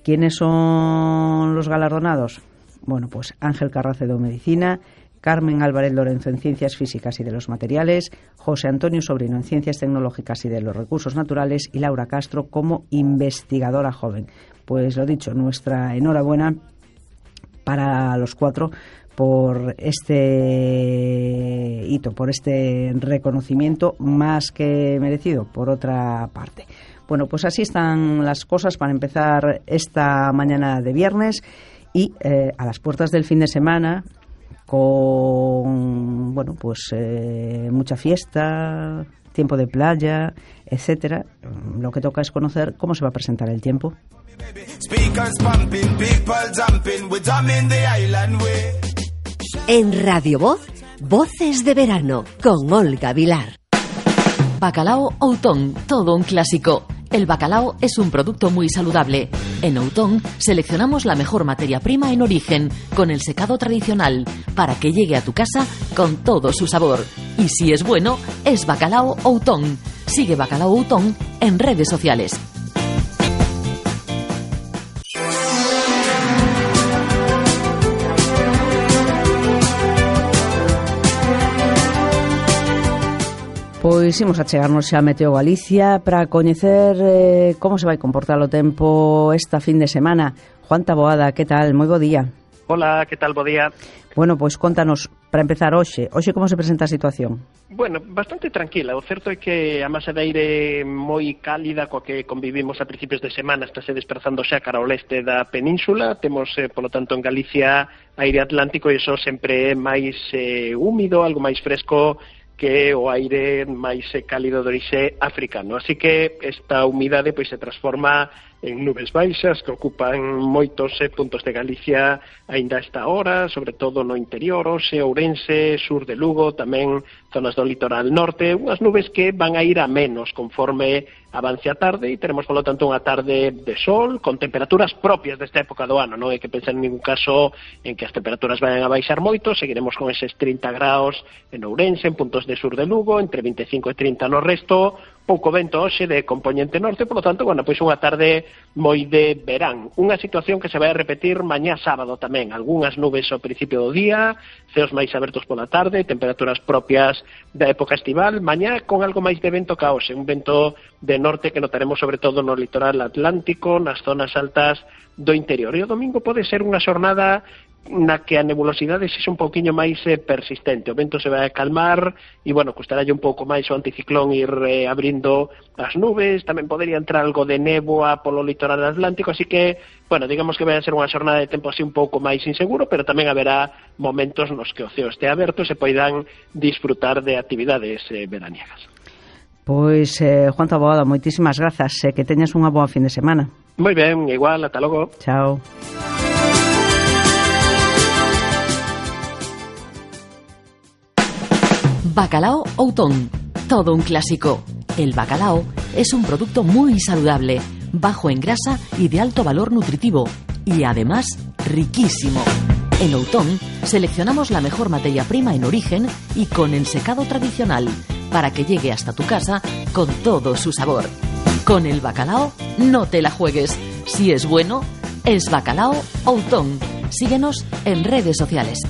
¿Quiénes son los galardonados? Bueno, pues Ángel Carracedo, Medicina, Carmen Álvarez Lorenzo en Ciencias Físicas y de los Materiales, José Antonio Sobrino en Ciencias Tecnológicas y de los Recursos Naturales y Laura Castro como investigadora joven. Pues lo dicho, nuestra enhorabuena para los 4 por este hito, por este reconocimiento más que merecido, por otra parte. Bueno, pues así están las cosas para empezar esta mañana de viernes y a las puertas del fin de semana, con mucha fiesta, tiempo de playa, etcétera. Lo que toca es conocer cómo se va a presentar el tiempo. En Radio Voz, Voces de Verano, con Olga Vilar. Bacalao Outón, todo un clásico. El bacalao es un producto muy saludable. En Outón seleccionamos la mejor materia prima en origen, con el secado tradicional, para que llegue a tu casa con todo su sabor. Y si es bueno, es Bacalao Outón. Sigue Bacalao Outón en redes sociales. Pois imos a chegarnos xa a Meteo Galicia para coñecer como se vai comportar o tempo esta fin de semana. Juan Taboada, que tal? Moi bo día. Hola, que tal? Bo día. Bueno, pois contanos, para empezar hoxe como se presenta a situación? Bueno, bastante tranquila. O certo é que a masa de aire moi cálida coa que convivimos a principios de semana está se desplazando xa cara ao leste da península. Temos, polo tanto, en Galicia aire atlántico e iso sempre é máis húmido, algo máis fresco que o aire máis cálido de orixe africano. Así que esta humidade pois se transforma en nubes baixas que ocupan moitos puntos de Galicia aínda a esta hora, sobre todo no interior, Oxe, Ourense, sur de Lugo, tamén zonas do litoral norte, unhas nubes que van a ir a menos conforme avance a tarde e teremos, polo tanto, unha tarde de sol con temperaturas propias desta época do ano. Non hai que pensar en ningún caso en que as temperaturas vayan a baixar moito, seguiremos con eses 30 graus en Ourense, en puntos de sur de Lugo, entre 25 e 30 no resto, pouco vento hoxe de componente norte, polo tanto, bueno, pois unha tarde moi de verán. Unha situación que se vai a repetir mañá sábado tamén. Algúnas nubes ao principio do día, ceos máis abertos pola tarde, temperaturas propias da época estival. Mañá con algo máis de vento ca hoxe, un vento de norte que notaremos sobre todo no litoral atlántico, nas zonas altas do interior. E o domingo pode ser unha xornada na que a nebulosidade sexa un pouquiño máis persistente. O vento se vai a calmar e, bueno, custará un pouco máis o anticiclón ir abrindo as nubes. Tamén podería entrar algo de néboa polo litoral atlántico, así que, bueno, digamos que vai a ser unha xornada de tempo así un pouco máis inseguro, pero tamén haberá momentos nos que o ceo este aberto e se poidan disfrutar de actividades veraniegas. Pois, Juan Taboada, moitísimas grazas, que teñas unha boa fin de semana. Moi ben, igual, ata logo. Chao. Bacalao Outón, todo un clásico. El bacalao es un producto muy saludable, bajo en grasa y de alto valor nutritivo, y además riquísimo. En Outón seleccionamos la mejor materia prima en origen y con el secado tradicional, para que llegue hasta tu casa con todo su sabor. Con el bacalao no te la juegues. Si es bueno, es Bacalao Outón. Síguenos en redes sociales.